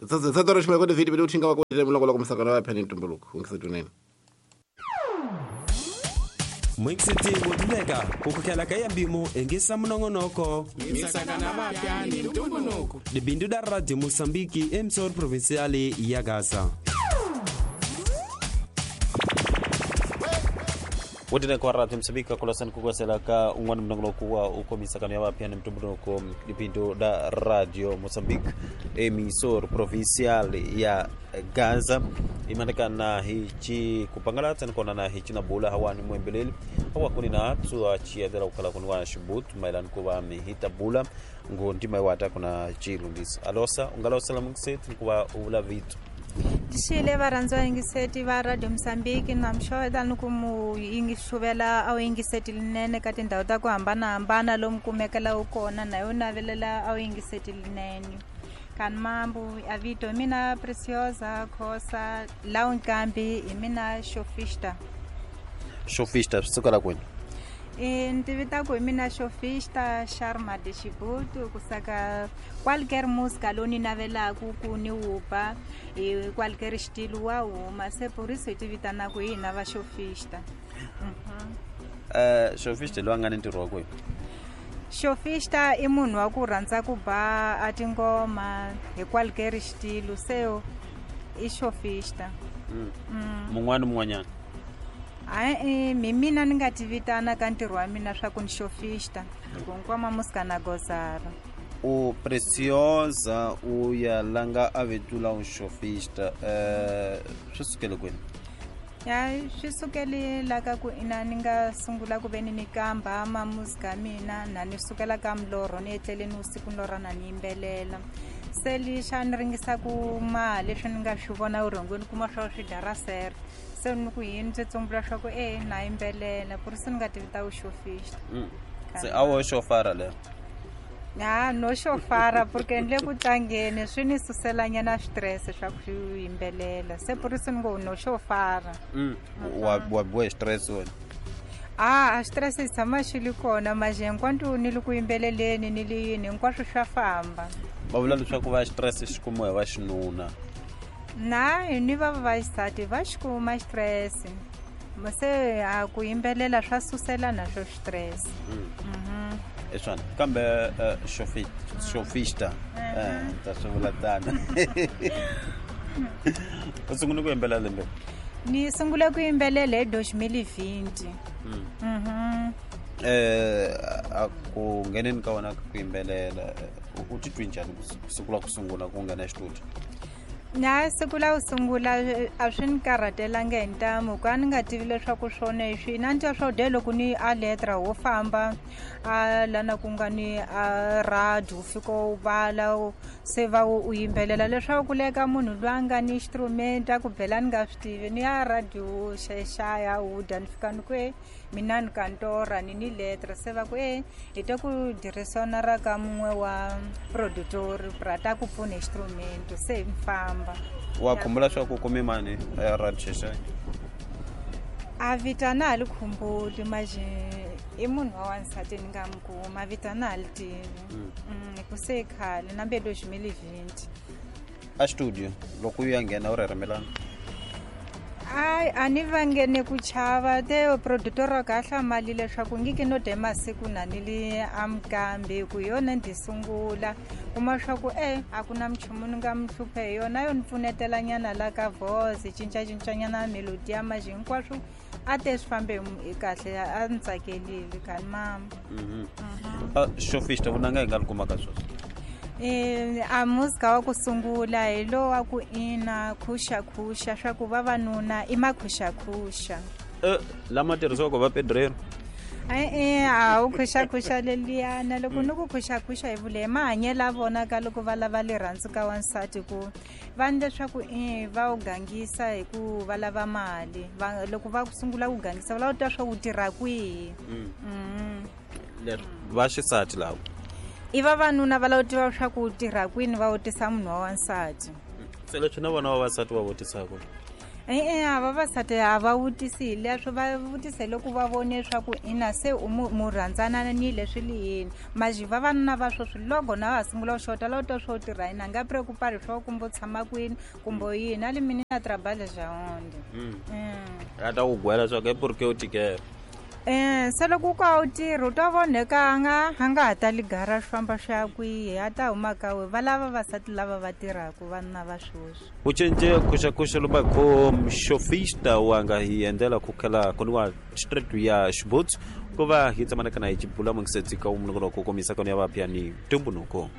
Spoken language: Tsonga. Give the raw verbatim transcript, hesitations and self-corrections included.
Sasa ximeko de video uthinga wa ku mulongo loko misakano ya pheni ntumbuluko ungisetunene Mwikisiti woduleka kukukela kaya mbimo engisa mnongonoko misakana mapya ni ntumbuluko Dibindu da Radio Mozambique emsor provinciale ya Gaza. Wodine kwa Radio Mozambique kulasan kukosela ka un'wana mnongonoko wa ukomisakano ya vapya ni mtumbuluko dibindu da Radio Mozambique emisor provinciale ya Gaza. Imanekana hichi kupangalatsa nikona na hichi na bula hawani mwembeleli hawakuni na tsuwa chiedela ukala kuni wa shibut mailani kuva mihita bula ngo ndima iwata kuna chilundisa alosa ungalosela mungiseti nikuva uvula vitu Tixile varhandziwa yingiseti va Radio Mozambique na mxoweta ni ku mu yingisuvela a wu yingiseti linene ka tindhawu ta ku hambanahambana lomu kumekela wu kona na yo navelela a wu yingiseti linene. Kanmambu avito mina Preciosa Khosa lawo nkambi hi mina Shofista. Shofista sukela kwini? E ni tivita ku hi mina Shofista Sharma de Chibutu kusaka qualquer música lowu ni navelaku ku ni wupa hi qualquer estilo wa huma se por isso hi ti vitanaku hina va Shofista. Eh Shofista loyi a nga ni ntirho wa kwihi? Shofista i munhu wa ku rhandza ku ba a tingoma hi qualquer estilo seo i shofista. Mm. Mun'wana mun'wanyana? Ai mi mina ni nga ti vitana ka ntirho wa mina swa ku ni shofista ku nkwama musika na gozara. U Preciosa u ya langa a vetula un shofista eh swi sukele kwini? Ya swi sukele la ka ku ina ni nga sungula ku ve ni ni kamba ma musika mina na ni sukela ka milorho ni etleleni vusiku ni lorha na ni yimbelela se lexa ni ringisa ku mali leswi ni nga swi vona vurhongweni kuma swa swi darasera se ni ku yini ndzi tsumbula swa ku e na yimbelela ku ri se ni nga ti vita vuxofista. Se a wo xofara le? Ya no xofara porque ni le ku tlangeni swi ni suselanyana stress swa ku yimbelela se por isso ni ngo no xofara. Wa wa boe stress wena? Ah, a stress xi tshama xi li kona mas hinkwanto ni li ku yimbeleleni ni li yini hinkwaswo swa famba. Va vula leswaku va stress xi kumiwa hi va xinuna. Na ni va vaxisati va xi kuma stress se a ku yimbelela swa susela na swo stress. Eswana kambe shofista eh ta swi vula tano. U sungule ku yimbelela lembe? Ni sungule ku yimbelela hi dois mil e vinte. Mhm. Eh a ku ngheneni ka wena ku yimbelela u titwi njhani siku la ku sungula ku nghena exitudio? Na siku la ku sungula a swi ni karhatelanga hi ntamu ku a ni nga tivi leswaku swona swi na ni twa swo de loko ni a letra wo famba a lana ku nga ni a radio u fika u vala se va u yimbelela leswaku ku le ka munhu loyi a nga ni instrument a ku bela ni nga swi tivi ni ya radio xaxaya u dya ni fika ni ku e mina ni kantora ni ni letra se va ku e hi ta ku dirisona ra ka mun'we wa produtor ra ta ku pfuna instrument se mi famba. Wa khumbula swa ku kume mani ya radio xaxaya? A vitana a li khumbuli maje i munhu wa wansati ni nga mi kuma vitana a li tivi hi ku se khale na mbe dois mil e vinte. A studio loko u ya nghena u rheremelana? Ai a ni va nghene ku chava te produtor ra ka hlamali leswaku ngi ke no dya masiku na ni li amkambi ku yona ndzi sungula kuma swa ku e a ku na nchumu ni nga mi hluphe hi yona yo ni pfunetelanyana la ka voice cincacincanyana melody ya maji hinkwaswo a te swi fambe hi kahle a ni tsakelile kani mama. Shofista vunanga hi nga li kumaka sweswi? Eh a musika wa ku sungula hi lowu wa ku ina khusha khusha swa ku vavanuna i makhusha khusha. Eh lama tirhisiwaka va pedrero? E-e a wu khusha khusha leliyana loko ni ku khusha khusha hi vule mahanyelo ya vona ka loko va lava rirhandzu ka wansati ku va endla leswaku i va wu gangisa hi ku va lava mali va loko va sungula ku gangisa va lava ku twa swa ku tirha kwihi. Va xisati lava? I vavanuna va lava ku tiva swa ku tirha kwini va vutisa munhu wa wansati. Se leswi na vona vavasati va vutisaka? E-e a vavasati a va vutisi hi leswo, va vutisa hi loko va vone swa ku ina se u mu mu rhandzana ni leswi li yini. Maji vavanuna va sweswi loko na va ha sungula ku xota la u twa swo tirha yini, a nga preocupari swa kumbe u tshama kwini kumbe yini, a li menina trabalha já onde. Mm. A ta ku gwela swa ku e porque u tikela. Eh, se loko u ka u tirha u ta voneka a nga a nga ha tali gara swi famba swi ya kwihi, a ta huma ka we. Va lava vavasati lava va tirhaka vanuna va sweswi. Ucenje kuxakuxa lubakho mxofista wanga hi endlela kukhela koniwa street ya xibutsu ku va hi tsamanaka na hi cibula mungisetsi ka umunongoloko komisakano ya vapya ni ntumbunuko.